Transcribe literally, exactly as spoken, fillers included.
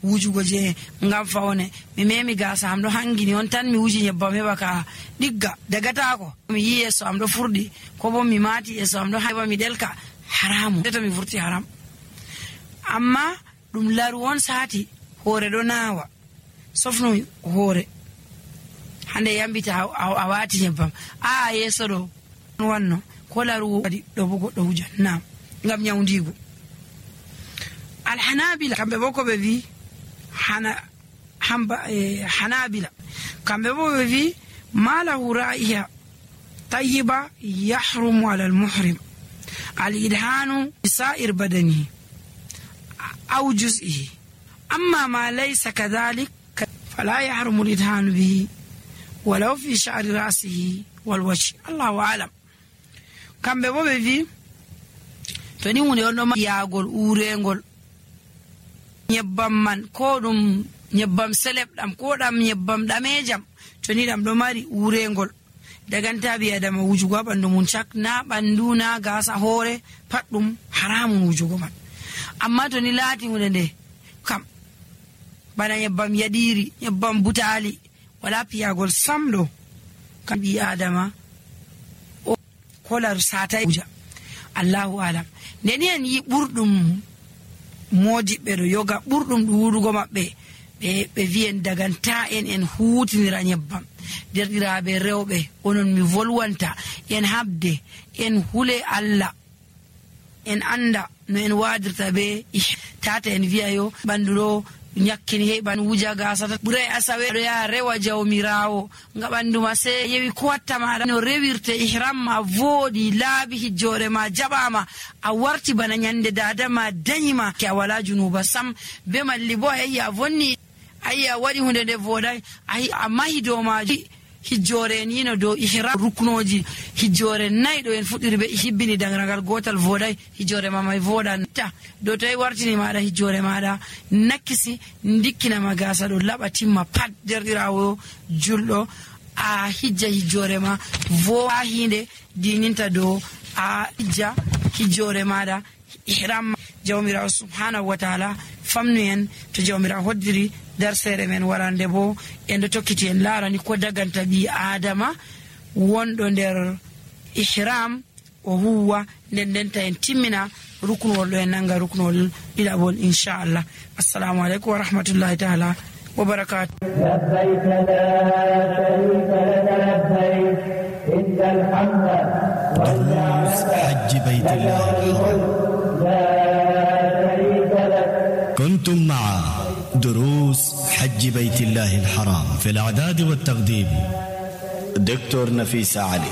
wujugo je ngam fawne mi memi gasa am do hangini on tan mi wuji nyebbam heba ka digga dagata ko mi yi yeso am do furdi ko bo mi mati yeso am do heba mi delka haramu to mi furti haram. Amma dum laru won sati hore do nawa sofno hore hande yambita a wati nyebbam a yeso do wanno ko laru wadi do bugo do wuja na ngam nyawndigo. Al hanabila kambe boko be vi hana hamba eh, hanabila kambe boko be vi malahu ra'iha tayyiba yahrumu ala al muhrim al idhanu sa'ir badani aw juz'ihi amma ma laysa kadhalik fala yahrumu al idhanu bihi walau fi sha'ri ra'sihi wal wajh. Allahu a'lam. Kambe bo be vi to ni hunde on do yaagol urengol nyebbam man ko dum nyebbam seleb dam ko dam nyebbam damejam to ni dam do mari urengol daganta bi adama wujugo bandu mun chak na bandu na gasa hore pat dum haramun wujugo man. Amma to ni lati hunde de kam bana nyebbam yadiri nyebbam butali wala piyagol samdo kam bi adama o kolar sata wuja. Allahu alam. Neni en yi burdum modi be do yoga burdum duudugo mabbe be be vien daganta en en huutinira nyebbam derdiraabe rewbe onon mi volwanta en habde en hule alla en anda no en wadirta be tata en viayo banduro nyakkini he ban wuja gasata bure asawe ya rewa jawmirawo ngabandu ma se yewi ko watta ma no rewirte ihram ma vodi laabi hijjore ma jabama a warti bana nyande dada ma danyima ke wala junuba sam be malli bo ayya vonni ayya wadi hunde de vodai ay amma hido ma hijjore ni no do ihram ruknoji hijjore naydo en fudirbe hibbini dangragal gotal vodai hijjore ma may vodan ta do tay wartini maada hijjore maada nakisi ndikkina magasa do labatimma pat derdirawo juldo a hijja hijjore ma vo a hinde dininta do a hijja hijjore maada ihram jawmira subhanahu wa ta'ala famnu en to jawmira hoddiri darsere men warande bo en do tokkiti en larani ko daganta bi adama wondo der ihram o huwa nden den ta en timmina ruknol do en nanga ruknol dilabol inshallah. Assalamu alaikum wa rahmatullahi ta'ala wa barakatuh. labbayk la sharika lak labbayk innal hamda wal ni'mata hajj baytillah la sharika lak. كنتم مع دروس حج بيت الله الحرام في الإعداد والتقديم دكتور نفيس علي.